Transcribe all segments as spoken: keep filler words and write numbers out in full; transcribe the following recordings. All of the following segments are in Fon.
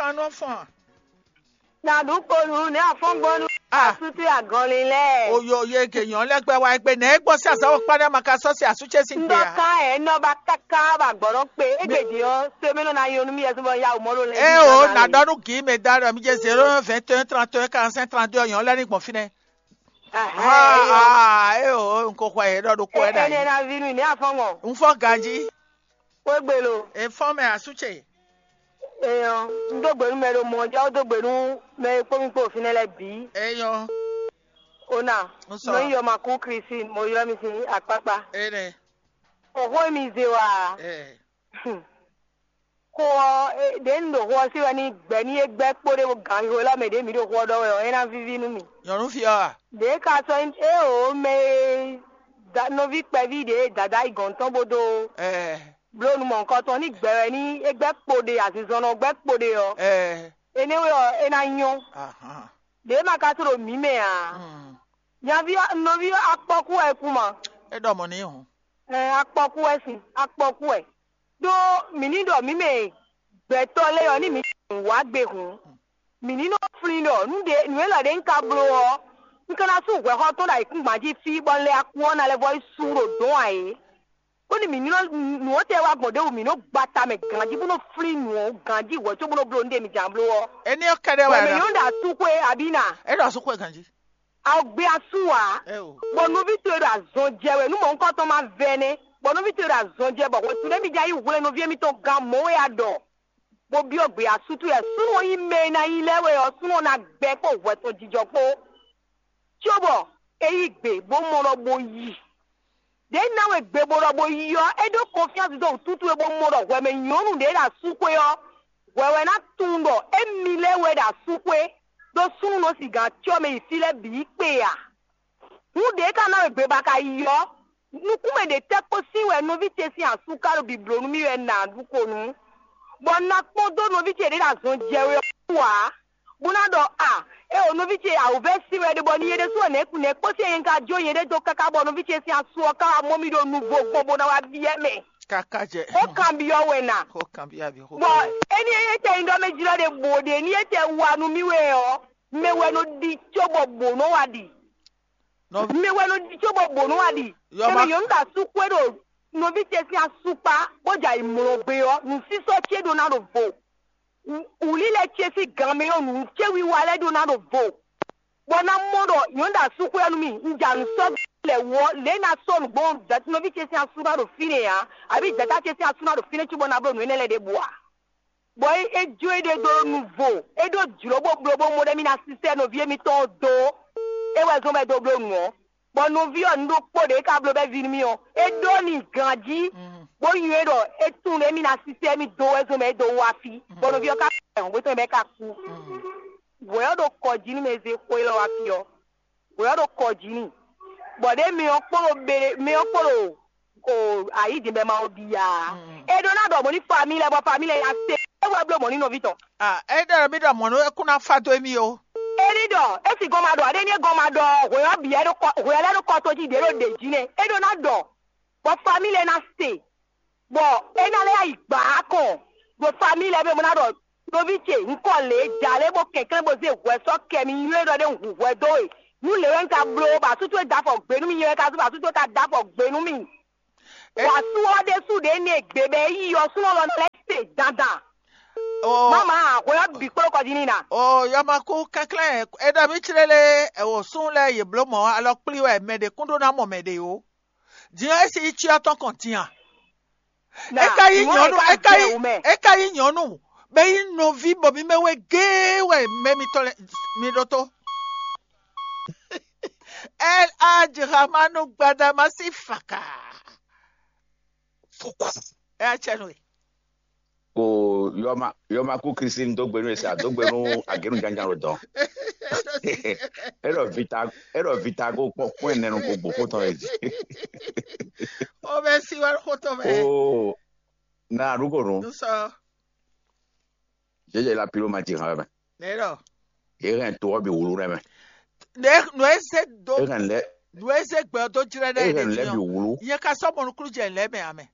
Anɔ fɔn. Na ɖu kponu ne afɔngbɔnu Ah. Asutu agɔnlin lɛ. Oyo ye ke nyɔ lɛ gbɛ wa egbe nɛ egbɔ si azawo kpa ne ma ka sɔ si asu ce si gbe Ndɔ a. Kan ɛ nɔ ba kaka ba gbɔdɔ kpe egbe di ɔ se mi nɔ na yɔ nu mi yɛ sɔbɔ ya o mɔ lo lɛ. E o na dɔ nu gi me da ɖɔ mi je zéro un vingt et un trente et un quarante cinq trente deux nyɔ lɛ ni gbɔn fi nɛ. Ah, ah, e o n ko xɔ ye ɖɔ ɖo kɔ ɛ da Ene yi. Na vi nu ne afɔngbɔn. N fɔ ganji. Kwe gbe lo. E fɔ mɛ asu ce. Eyɔ, n dó gbe nú mɛ ɖo mɔ ɔ́, já wó dó gbe nú mɛ e kpó mì kpó ɖo fínɛ́ lɛ́ɛ bǐ. Eyɔ. Ona, N sɔ. Nɔ nyí yɔma kú Christine, mo ylɔ́ mi sín akpákpá. Ene. Xɔxó e mi zé wa. Eh. Xó ɔ́, ɖě un ɖo xó ɔ́ sí wɛ ní gbɛ̌ ní é gbɛ́ kpó ɖé ganxixo élɔ́ mɛ ɖě mǐ ɖo xó ɔ́ ɖɔ wɛ ɔ́, é ná víví nú mì. Nyɔ̌nu fí ɔ́ a? Ɖě ka sɔ́ nyí éeǒ mɛ e da- nɔví kpɛví ɖě e dǎdá yi gɔ̌n tɔn bó dó Eh. Bló nu mɔ̌hunkɔtɔn ní gbɛ wɛ ní é gbɛ́ kpo ɖe azinzɔnnɔ gbɛ́ kpo ɖe ɔ́, Ɛɛ. Énɛ́ wɛ ɔ́ é ná nyɔ́. Ahan. Ɖě ma ka sɔ́ ɖo mǐ mɛ ǎ. Hmm. Nyaví ɔ́- nɔví ɔ́ akpɔ́kú wɛ é kú ma. É ɖɔ mɔ̌ n'i hǔn. Ɛɛ, akpɔ́kú wɛ sin, akpɔ́kú wɛ. Ɖó mǐ ní ɖɔ mǐ mɛ gbɛtɔ́ lɛ́ɛ ɔ́ ní mǐ wǎ gbe hǔn, mǐ ní nɔ flín ɖɔ nǔ ɖé nǔ élɔ́ ɖé un ka bló ɔ́, un ka ná sú hwɛxɔ́ tɔn ɖo ayǐkúngban jí fí bɔ un lɛ akú ɔ́ ná lɛ́ vɔ́ yi sú ɖo dɔ̌n ǎ é. Bónú mǐ ní nɔ nǔ ɔ́ tɛ wá gbɔn ɖěbǔ mǐ nɔ́ gba ta mɛ ganjí bó nɔ́ flín nǔ ɔ́ ganjí hwɛ̌ có bó nɔ́ bló nǔɖé mǐ jǎn bló ɔ́. Éní ɔ́ kɛ́ɖɛ́ wɛ Bɔ mǐ ná. Ní nɔ́ ɖo asú xwé abǐ na. É ɖo asú xwé ganjí. A gbé asú ǎ. É o. Bɔ nɔví towe ɖo azɔn jɛ wɛ nú mɔ̌hunkɔtɔn ma vɛ nɛ́, bɔ nɔví towe ɖo azɔn jɛ bɔ hwɛ̌tu nɛ́ mì jɛ yí hwlɛ́n nɔví émítɔn gán mɔ̌ wɛ a ɖɔ, bó byɔ́ gbě asú towe wɛ súnnu ɔ́ nyí mɛ e ná nyí lɛ́ɛ wɛ ɔ́, súnnu ɔ́ ná gbɛ kpó hwɛtɔn jijɔ kpó. Cóbɔ é yí gbe bó mɔ ɖɔ bó yi. Ɖě ná we gbe bó ɖɔ bó yi ɔ́, é ɖó kɔnfyánsi dó wǔtútú e bó mɔ ɖɔ hwɛ mɛ nyɔ̌nu ɖě ɖo asúxwé ɔ́, hwɛ wɛ ná tunwun ɖɔ émi lɛ́ɛ wɛ ɖo asúxwé, ɖó súnnu nɔ sigan cyɔ mɛ yi fí lɛ́ɛ bǐ yi kpe ǎ. Hǔn ɖě ka ná we gbe ba ka yi ɔ́, nukúnmɛ ɖě tɛ́ kpó sín wɛ nɔví ce sín asú ka ɖo bǐbló nú mì wɛ nǎ ɖu ko nú, bɔ un ná kpɔ́n dó nɔví ce ɖě ɖo azɔn jɛ wɛ ɔ́ wú ǎ, bó ná ɖɔ a, é o nɔví ce awǔvɛ́ sín wɛ ɖe bɔ ní é ɖésú wɛ nɛ̌ nɛ̌ kpó sín é ka jó nyɛɖée dó káká bɔ nɔví ce sín asú ɔ́ ka wá mɔ mì ɖo nuvo gbɔn bó ná wá byɔ́ mɛ. Káká jɛ. Xó kanbyɔ́ wɛ nǎ. Xó kanbyɔ́ abi xó. Bɔ éní étɛn nyí ɖɔ mɛ jlɔ́ ɖe bǒ ɖe ní étɛn wa nú mì wɛ ɔ́, mɛ wɛ nɔ ɖi cóbɔ bǒ nɔ wá ɖi. Nɔví. Mɛ wɛ nɔ ɖi cóbɔ bǒ nɔ wá ɖi. Yɔ Emi ma. Nyɔ̌nu ɖo asú xwé ɖo nɔví ce sín asú kpá, bó jɛ ayǐ mlɔ́ gbé ɔ́, nǔsísɔ́ ce ɖó ná ɖo vo. Wǔlílɛ ce sín gan mɛ ɔ́, nǔ ce wiwa lɛ́ɛ ɖó ná ɖo vo. Bɔ ná mɔ ɖɔ nyɔ̌nu ɖo asú xwé ɔ́ nú mì, un jɛ nǔ sɔ́ lɛ wú ɔ́, lě ná sɔ́ nǔgbó nɔví ce sín asú ná ɖo fínɛ́ ǎ, abǐ jɛ̌tá ce sín asú ná ɖo fínɛ́ cóbɔ ná bló nǔ énɛ́ lɛ́ɛ ɖěbǔ ǎ. Bɔ é é jó éɖée dó nuvo, é ɖó jlǒ bó bló bó mɔ ɖɔ émí ná sísɛ́ nɔví émítɔn ɔ́ dó, é wɛ zɔ́n bɔ é dó bló nǔ ɔ́. Bɔ nɔví ɔ́, nǔ ɖokpó ɖě ka bló bɛ́ ví nú mì ɔ́, é ɖó n'i ganjí, bó nywɛ́ ɖɔ é tunwun ɖɔ émí ná sísɛ́ émí dó wɛ zɔ́n bɔ é dó wá fí, bɔ nɔví ɔ́ ka hɔn gbé tɔn bɔ é ka kú. Hwɛ ɔ́ ɖo kɔ jí nú mɛ e zé xó élɔ́ wá fí ɔ́. Hwɛ ɔ́ ɖo kɔ jí n'i, bɔ ɖě mi ɔ́ kpo ɖo be mi ɔ́ kpo ɖo o ayǐ din bɔ ma ɔ ɖi ǎ. É ɖó ná ɖɔ mɔ̌ ní famille lɛ́ɛ bɔ famille lɛ́ɛ nya se é wɛ bló mɔ̌ ní nɔví tɔn. Ah, é ɖɔ mì ɖɔ mɔ̌ nú é kún ná fa dó émí ó. É ní ɖɔ é sì gɔn ma ɖɔ ǎ ɖé ní é gɔn ma ɖɔ hwɛ ɔ́ bǐ wɛ ɖó kɔ hwɛ lɛ́ɛ ɖó kɔ tó jí ɖě ɖo ɖě jí nɛ́ é ɖó ná ɖɔ bɔ famille lɛ́ɛ ná se. Bɔ é ná lɛ́ yi gbǎ kɔn ɖo famille lɛ́ɛ bɔ é mɔ ná ɖɔ nɔví ce un kɔ lě ja lě bó kɛnklɛ́n bó zé hwɛ sɔ́ kɛ mi nywɛ́ ɖɔ ɖé un hu hwɛ dó we. Nú lě wɛ un ka bló bɔ asú towe da afɔ gbě nú mì nyɛ wɛ ka zú bɔ asú towe ka da afɔ gbě nú mì. Wǎ sú ɔ́ ɖésú ɖě nɛ gbe bɔ é yi ɔ́ súnɔ lɔ lɛ́ se dandan. Mama hwɛ ɔ́ bǐ kplɔ́ kɔ jí n'i ná. O yɔmakú kɛnklɛ́n é ɖɔ mì clélé, ɛwǒ sún lɛ́ɛ yě bló mɔ̌ alɔ kplí wɛ mɛ ɖě kún ɖó ná mɔ mɛ ɖě ó. Din ɔ́, é si yi cyɔ tɔn kɔn din a? É ka yí nyɔ̌nu, é ka yí, é ka yí nyɔ̌nu, bɛ yí nɔví bɔ mi mɛ wɛ géé wɛ mɛ mitɔn lɛ mi ɖótó. El Hadj Ramanu Gbadama sí faka. Ɛ acɛ nú e. Ko yɔma yɔma kú Kristi dó gbe nú esi a dó gbe nú agénu jánján ɖo dɔn. Eɖɔ vita eɖɔ vita ko kpɔ kpɔn ɛnɛ nu ko gbó xótɔn yɛ jí. O bɛ si wɛ xótɔn mɛ. O na ɖu ko nu. Nusɔ. Jẹjẹ la pilo ma ti hàn mɛ. Ne ɖɔ. E hɛn to ɔbi wulu ɖe mɛ. Ne nu e se do. E hɛn lɛ. Nu e se gbɛ do jrɛ ɖe. E hɛn lɛ bi wulu. Yɛ ka sɔ mɔnukulu jɛ lɛ mɛ amɛ.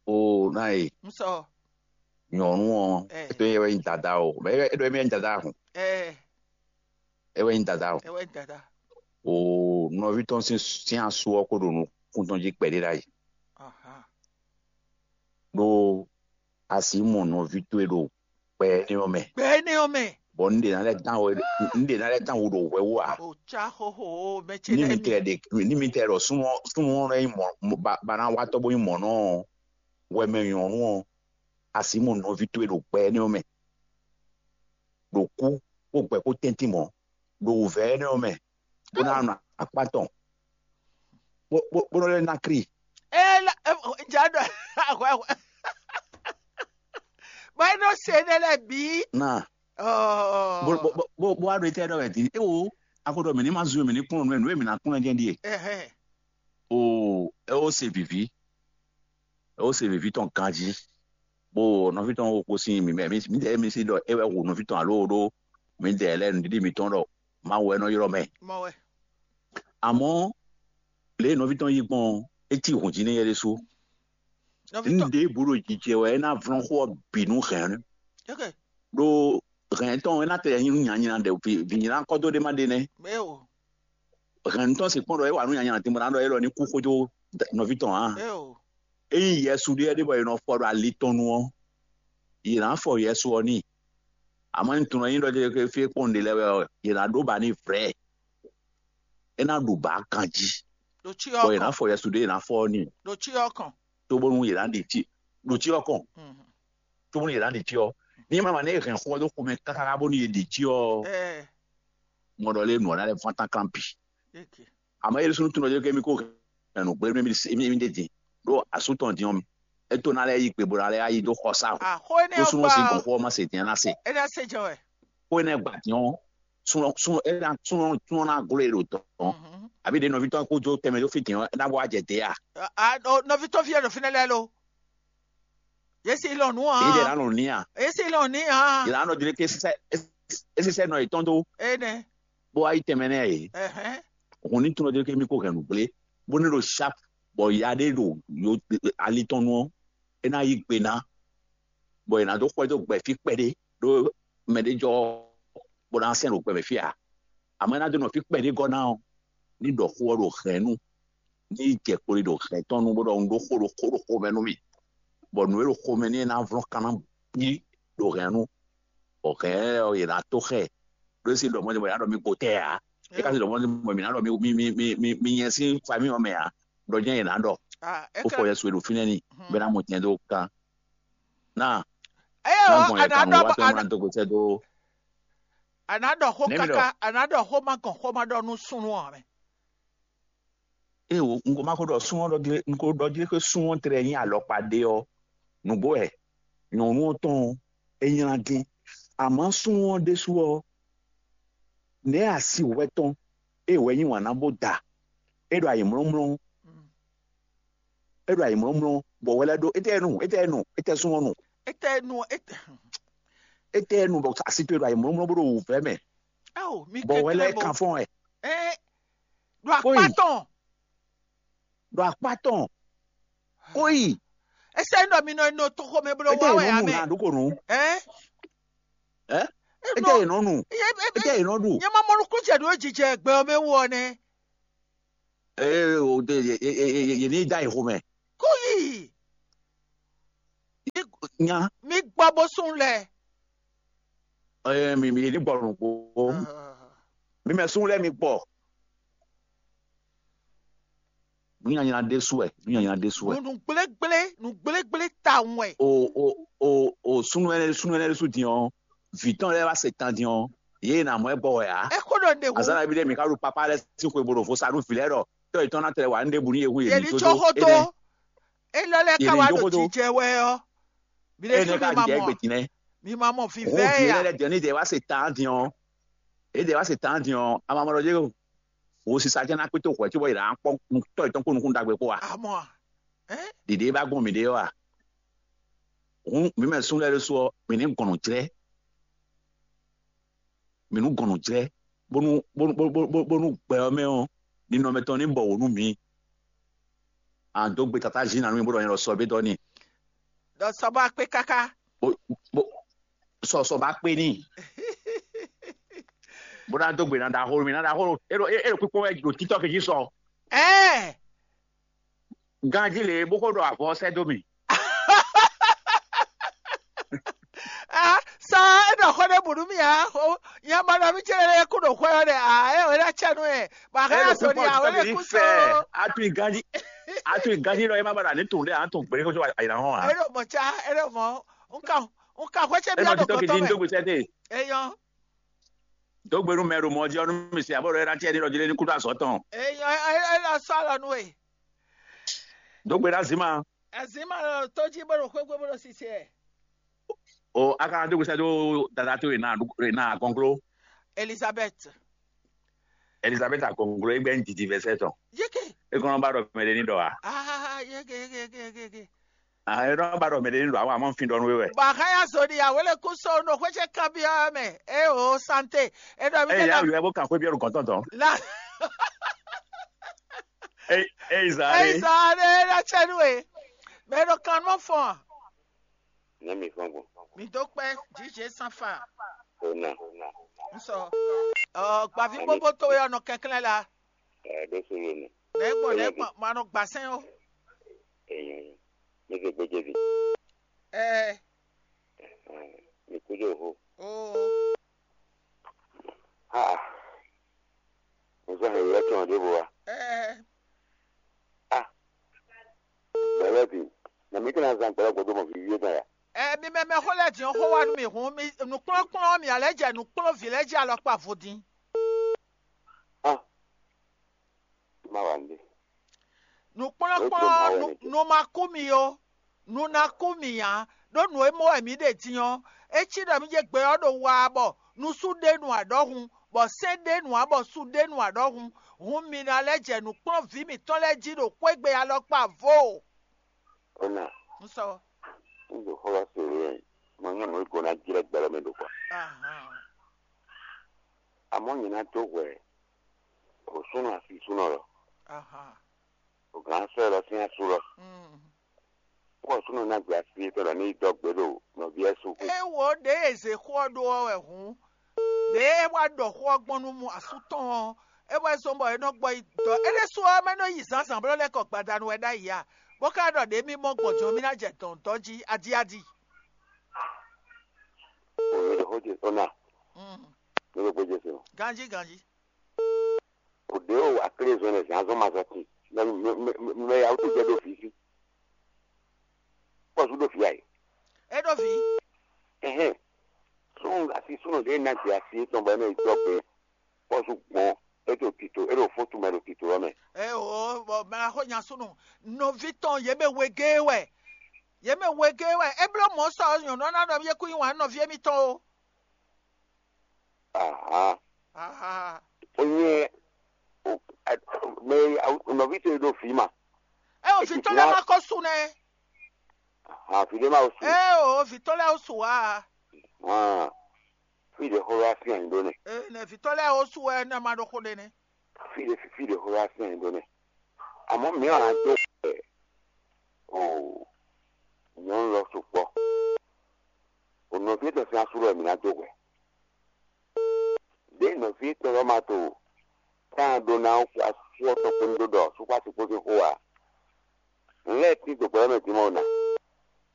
O na ye. Nusɔ. Nyɔ̌nu ɔ́, é ɖɔ é wɛ nyí dada o, é ɖɔ é wɛ nyí dada hǔn, é wɛ nyí dada o. O nɔví tɔn sín asu ɔ́ kó ɖo nukún tɔn jí kpɛɖé ɖ'ayǐ. Ɖó a sǐ mɔ nɔví towe ɖo gbɛ énɛ́ ɔ́ mɛ. Gbɛ énɛ́ ɔ́ mɛ. Bɔ un ɖe ná lɛ́ dán we un ɖe ná lɛ́ dán we ɖo hwɛ wú ǎ. O cá xóxó o mɛ ce ní lɛ́ɛ mi mi. Tɛ ɖe ní mi tɛ ɖɔ súnnu ɔ́- súnnu ɔ́ lɛ́ nyí mɔ̌ ba ba ná wá tɔ́ bó nyí mɔ̌ nɔ ɔ́, wɛ mɛ nyɔ̌nu ɔ́, a sǐ mɔ nɔví towe ɖo gbɛ énɛ́ ɔ́ mɛ, ɖo kú kpó gbɛ kpó tɛ́ntin mɔ̌, ɖo wǔvɛ́ énɛ́ ɔ́ mɛ, bó ná nɔ akpá tɔn, bó bó bó nɔ lɛ́ ná kri. Ela ja ɖɔ ahwɛ ahwɛ. Bɔ é nɔ se énɛ́ lɛ́ɛ bǐ. Ná Ɔɔ. Bó bó bó bó wá ɖo étɛ́ ɖɔ wɛ din. É wo a ko ɖɔ mǐ ní ma zú mǐ ní kplɔ́n nǔ e nǔ e mǐ ná kplɔ́n jɛ́n ɖíe. Ɛhɛn. O é ó se vǐví, é ó se vǐví tɔn ganjí. Bó nɔví tɔn wo kó sín mǐ mɛ mǐ mǐdɛɛ mǐ sí ɖɔ é wɛ hu nɔví tɔn alo ɖó mǐdɛɛ lɛ́ɛ nǔɖiɖi mǐtɔn ɖɔ Mawu wɛ nɔ ylɔ́ mɛ. Mɔ wɛ. Àmọ́ lě e nɔví tɔn yí gbɔn ɔ́, é cí hǔn jí nú éyɛ́ ɖésú. Nɔví Ní tɔn. Ɖěbǔ ɖo jijɛ wɛ é ná vlɔ́n xó ɔ́ bǐ nú hɛ̌n. Ok. Ɖó hɛ̌n tɔn é ná tɛ nyí nú nyanyla ɖe vǐnyla kɔ́ dó ɖé má ɖe nɛ́. Eo. Hɛ̌n tɔn sixú ɖɔ é wa nú nyanyla din bɔ ná ɖɔ é ɖɔ ní kú xójó nɔví tɔn ǎ. Eo. Ényí Yɛsu ɖé ɖé bɔ è nɔ fɔ ɖo ali tɔn nu ɔ́, yě ná fɔ Yɛsu ɔ́ n'i. Àmọ́ ní tunɔ nyí ɖɔ fí kpɔ́n ɖe lɛ́ɛ wɛ ɔ́, yě ná ɖó ba n'i vrɛ̌. É ná ɖu bǎ ganjí. Ɖo tsyɔ Bɔ yě ná kɔn. Fɔ Yɛsu ɖé yě ná fɔ ɔ́ n'i. Ɖo tsyɔ kɔn. Cóbónú yě ná ɖi tsyɔ ɖo tsyɔ kɔn. Mhm. Cóbónú yě ná ɖi tsyɔ. Ní ma ma ní hɛn xó ɔ́ dó xomɛ káká bónú yě ɖi tsyɔ ɔ́, Ɛ. Ŋɔ ɖɔ lé nǔ ɔ́ ná lɛ́ fán tán klán bǐ. Eke. Àmọ́ yě ɖésú nú tunɔ jɛ kɛ mí kó hɛn nǔ gbé mí mí mí ɖe din ɖó asú tɔn din ɔ́ mɛ. É tó ná lɛ́ yí gbe bó ná lɛ́ yí dó xɔ sá o. Axó énɛ́ Ɖó ɔ́ súnmọ́ gba sí ɔ́, gɔ̌nxó ɔ́ má se din ná se. É ná se jɛ wɛ. Xó énɛ́ gba din ɔ́, súnɔ súnɔ é ná súnɔ súnɔ ná gló e ɖo tɔn. Mhm. Àbí ɖe nɔví tɔn kó jó tɛmɛ dó fí din ɔ́, é ná wá jɛ dě a? A- a- o, nɔví tɔn fí ɛ ɖo fínɛ́ lɛ́ɛ lo. Yě si lɔn nǔ Yě jɛ ná hàn. Lɔn ní a? Yě si lɔn ní hàn. Yě ná nɔ jlé ké sísɛ é sísɛ nɔ yětɔn dó. Énɛ́. Bó wá yí tɛnmɛ nɛ́ yě. Ɛhɛn. Hǔn ní tunɔ jlé ké mí kó hɛn nǔ gblé, bó ní ɖo sharp, bɔ ya ɖé ɖo yo ali tɔn nu ɔ́, é ná yí gbe ná, bɔ è nǎ dó xwɛ dó gbɛ fí kpɛɖé ɖó mɛ ɖé jɔ bó ná sɛn ɖo gbɛ mɛ fí ǎ. Àmọ́ é ná dó nɔ fí kpɛɖé gɔ́ ná ɔ́, ní ɖɔ xó ɔ́ ɖo hɛ̌nnu, ní jɛ kpoli ɖo hɛ̌n tɔn nu bó ɖɔ un ɖó xó ɖo xó ɖo xomɛ nú mì, bɔ nǔ e ɖo xomɛ n'i é ná vlɔ́n kanna bí ɖo hɛ̌nnu, bɔ hɛ̌n ɔ́ è nǎ tó xɛ ɖó sí ɖɔ mɔ̌ ɖé mɔ è nǎ ɖɔ mì gotɛ́ ǎ. É ka sí ɖɔ mɔ̌ ɖé mɔ mǐ ná ɖɔ mì mì mì mì mì mì nyɛ sín famíɔ mɛ ǎ, ɖɔ jɛ́n è nǎ ɖɔ. Ah, é bó ka- fɔ Yɛsu e ɖo fínɛ́ n'i bɔ é ná mɔ tɛn dó kan. Ná Eye ná o, gbɔn yɛ àná kan ɖɔ wá tɔn àná- ná dó gotɛ́ dó. Àná ɖɔ xó Nɛ̌ mi ɖɔ? Káká, àná ɖɔ xó má gɔn xó má ɖɔ nú súnnu ɔ́ mɛ. Ée wo un ko ma ko ɖɔ sún ɔ́ ɖɔ gle un ko ɖɔ gle xé sún ɔ́ tlɛ nyí alɔkpa ɖé ɔ́, nǔgbó wɛ nyɔ̌nu ɔ́ tɔn ɔ́, é nylá dín. Àmọ́ sún ɔ́ ɖésú ɔ́, nɛ̌ asi hwɛ tɔn é wɛ nyí wǎn ná bó da? É ɖo ayǐmlɔ́mlɔ́, é ɖo ayǐmlɔ́mlɔ́, bɔ hwɛ lɛ́ɛ ɖó étɛ́ nu, étɛ́ nu, étɛ́ sún ɔ́ nu, Ete nu ete. Étɛ́ nu bɔ asi towe ɖo ayǐmlɔ́mlɔ́ bó ɖo wǔvɛ́ mɛ, Ao, mi bɔ hwɛ lɛ́ɛ kɛnklɛ́n bo. Kan fɔ́n wɛ. Ɛ ɖo akpá Kóyi. Tɔn. Ɖo akpá tɔn. Kóyi. Ese nɔ mi nɔ nɔ toxo mɛ blo Étɛ́ wá yě wɛ nɔ nu amɛ. Na ɖokonu. Ɛ Ɛ? Étɛ́ yě nɔ nu. Étɛ́ yě nɔ ɖu. Nyɛ ma mɔ nukún jɛ ɖo jijɛ gbɛ ɔ́ mɛ wú ɔ nɛ. Ee o de yě yě yě yě ní da yě xomɛ. Kóyi. Nya. Mi gbɔ bó sún lɛ. Ee mi mi yě ní gbɔ nukún. Mi mɛ sún lɛ mi gbɔ. Nǔnyanya ɖésú wɛ, nǔnyanya ɖésú wɛ. Nǔ gblégblé, nǔ gblégblé tawun wɛ. O o o o sunu ɛnɛ sunu ɛnɛ ɖésú din ɔ́, vǐ tɔn lɛ́ɛ wá se tan din ɔ́, yě e nǎ mɔ ɛ gbɔ wɛ ǎ. Ɛ xó ɖɔ ɖe hu. Azǎn ví ɖé mi ká ɖo papá lɛ́ɛ sín xwe bo ɖo vo sa nú vǐ lɛ́ɛ ɖɔ tɔ́ yětɔn ná tlɛ wǎ nú ɖěbǔ nú yě hu yě Yě ní ní có có dó xó tó. Énɛ́. Élɔ́ lɛ́ɛ Yě ká ní wá tó ɖo xó tó. Jijɛ wɛ ɔ́. Bi ɖé Énɛ́ sún mi ká ma jɛ mɔ. Égbé din nɛ́. Mi ma mɔ Hǔn vivɛ vǐ ya. Lɛ́ɛ jɛ ní jɛ wá se tan din ɔ́. Yě jɛ wá se tan din ɔ́, a ma mɔ ɖɔ yě wo sisa jɛ́n ná kpé tó hwɛ̌ cóbɔ yě ná kpɔ́n tɔ́ yětɔn kpó nukún ɖagbe kpó a? Amɔ a? Ɛ? Ɖiɖe e ba gbɔn mǐɖée ɔ́ a? Hǔn mǐ mɛ súnnu lɛ́ɛ ɖésú ɔ́, mǐ ní gɔn nǔ jlɛ́. Mǐ nú gɔn nǔ jlɛ́, bónú bónú bónú bónú bónú gbɛ ɔ́ mɛ ɔ́, ninɔmɛ tɔn ní bɔ wǒ nú mǐ. A dó gbe tatá jí ná nú mì bó ɖɔ nyɛ ɖɔ sɔ bé dɔ́ n'i. Ɖɔ sɔ bó akpé káká. Bó sɔ sɔ ba kpe n'i. Bó ná dó gbe ná ɖaxó mi ná ɖaxó, é ɖo é ɖo kpíkpɔ́n wɛ ɖo títɔ́ kejì sɔ. Ɛɛ. Ganjí lě bó xó ɖɔ avɔ sɛ́ dó mì. Ah, sa é ɖɔ xó ɖé bǔ nú mì ǎ. Nya ma ɖɔ mì cɛ́ lɛ́ɛ kú ɖo xwɛ ɔ́ ɖɛ ǎ, é ɔ́ é ná cɛ nú ɛ. Bɔ a ka nya sɔ ɖi ǎ, é lɛ́ kú sɔ. Atu ganjí atu ganjí lɔ é má ba ɖa ní tun ɖé ǎ tun gbé kó sɔ ayǐ ná hɔn ǎ. É ɖo mɔ̌ cá, é ɖo mɔ̌. Un ka un ka xwé cɛ é byɔ́ nɔ ɖo títí kí dín gɔtɔ́ mɛ. Dó gbe sɛ́ dé. É nyɔ́. Dó gbe nú mɛ ɖo mɔ jí ɔ́ nú mi se abɔ ɖɔ é ná cɛ ní ɖɔ jí lé ní kúɖó azɔ̌ tɔn. É nyɔ́ é é é ná sɔ́ alɔ nú we. Dó gbe ná zǐn ma. Azǐn ma ɖo tó jí bó ɖo xwégbé bó ɖo sise ɛ. O a ka ná dó gbe sɛ́ dó dada tó e ná e ná akɔngló. Elizabeth. Elizabeth akɔngló é gbɛ́ ní didi vɛsɛ tɔn. Yéke. É kɔn nɔ ba ɖɔ mɛ ɖé ní ɖɔ a. Ah yéke yéke yéke yéke. Ah é nɔ ba ɖɔ mɛ ɖé ní ɖɔ a wa mɔ fin ɖɔ nú é wɛ. Bɔ a ka ya zo ɖi awele kú so ɖo xwé ce kanbyɔ́ mɛ. É o santé. É ɖɔ mi Eye ya wia bó kan xwé byɔ́ ɖo gɔ̌n tɔn tɔn. La. Eye eye zan ɖe. Eza ɖe ɖo cɛ nú we. Mɛ ɖo kan nɔ fɔn. Ne mi fɔn gbɔn. Mi dó kpɛ jíjɛ sanfa. O na. N sɔ. Ɔ gbavi gbogbo to yɔ nɔ kɛnklɛn la. Ɛ ɖo solo nɛ. Nɛ gbɔn nɛ gbɔn ma nɔ gbasɛn o. Eyin. Mi se gbedze vi. Ɛ. Mi kú dó ho. O. Ha. Mo sọ hɛn yɛ tɔn ɖěvo wa. Ɛ. Ah. Gbɛlɛ bi. Na mi kana zan gbɛlɛ gbɔdɔ mɔ vi yé tɔn ya. Ɛ mi mɛ mɛ xó lɛ din xó wa nú mi hun mi nukplɔ́nkplɔ́n mi alɛ jɛ nukplɔ́n vi lɛ jɛ alɔkpa vodin. Ah. Ma wa nde. Nukplɔ́nkplɔ́n nu ma kú mi ó. Nu ná kú mì ǎ, ɖó nǔ e mɔ wɛ mǐ ɖe din ɔ́, é cí ɖɔ mǐ jɛ gbɛ ɔ́ ɖo wa bɔ nusú ɖe nu aɖɔhun, bɔ sɛ́n ɖe nu ǎ bɔ su ɖe nu aɖɔhun, hun mi ná lɛ́ jɛ nǔkplɔ́nví mǐtɔn lɛ́ɛ jí ɖo xwégbe alɔkpa vo. Ona, Un sɔ. Un ɖo xó ɔ́ se wɛ, mɔ nyɔnu e gɔ́ ná jlɛ́ gbɛ lɔ mɛ ɖo kɔ. Ahan. Amɔ̌ nyɛ ná dó hwɛ o súnɔ asisúnɔ lɔ, Ahan. O gǎn sɔ́ lɔ sín asú lɔ. Mm. Pɔ́ɔ súnɔ ná gbé así tɔn ɖɔ ní yi dɔgbe ɖo nɔví ɛ su xwé. É wo ɖě e zě xó ɔ́ ɖó ɔ́ wɛ hǔn. Ɖě é wá ɖɔ xó ɔ́ gbɔn nú mú asú tɔn ɔ́, é wɛ zɔ́n bɔ é nɔ gbɔ yi dɔ. É ɖésú ɔ́, mɛ nɔ yi zǎnzǎn blɔ́ lɛ́ kɔ gbadanu wɛ ɖ'ayǐ a? Bó ka ɖɔ ɖě mì mɔ gbɔn jɔ́n mì ná jɛ dɔ̌n dɔ́ jí adíadí. O mi ɖo xó ce ona. Mm. Mi ɖo gbéjé se o. Ganjí ganjí. O ɖě o aklé zɔn lɛ zǎn zɔn ma zɔn tin. Mɛ mɛ mɛ mɛ ya wútu jɛ ɖo fǐ sí. Pɔ́sú ɖo fǐ a yě. É ɖo vǐ. Ɛhɛn. Sún asi súnɔ ɖě ná gbé asi étɔn bɔ é nɔ yi dɔ́ gbe. Pɔ́sú gbɔn é ɖo tito é ɖo fótu mɛ ɖo tito ɔ́ mɛ. Ɛ o bɔ mɛ xó nya súnɔ nɔví tɔn yě mɛ wegé wɛ. Yě mɛ wegé wɛ. É bló mɔ̌ sɔ nyɔ̌nu ɔ́ ná ɖɔ yé kú nyi wǎn nɔví émítɔn o. Aha. Aha. Onye mɛ nɔvi to ɖo fi ma. Ɛ o vǐ tɔn lɛ́ɛ ma kɔ su nɛ. Aha, fi ɖé ma o su. Ɛ o vǐ tɔn lɛ́ɛ o su wa. Ah. Fi ɖe xɔ wá fi anyi ɖó nɛ. Ɛ nɛ vǐ tɔn lɛ́ɛ o su wɛ nɛ ma ɖo xo ɖe nɛ. Fi ɖe fi ɖe xɔ wá fi anyi ɖó nɛ. Àmọ́ mìíràn á dó ɛ o nyɔnu lɔ sukpɔ. O nɔvi tɔn sín asú lɔ mǐ ná dó hwɛ. Ɖě nɔví tɔn lɔ ma to táan ɖó ná asú ɔ́ tɔn kpódó ɖɔ súkpásukpó sín xó ǎ. Nǔ lɛ́ɛ tín dó gbɛ̌ mɛ din mɛ ɔ́ ná.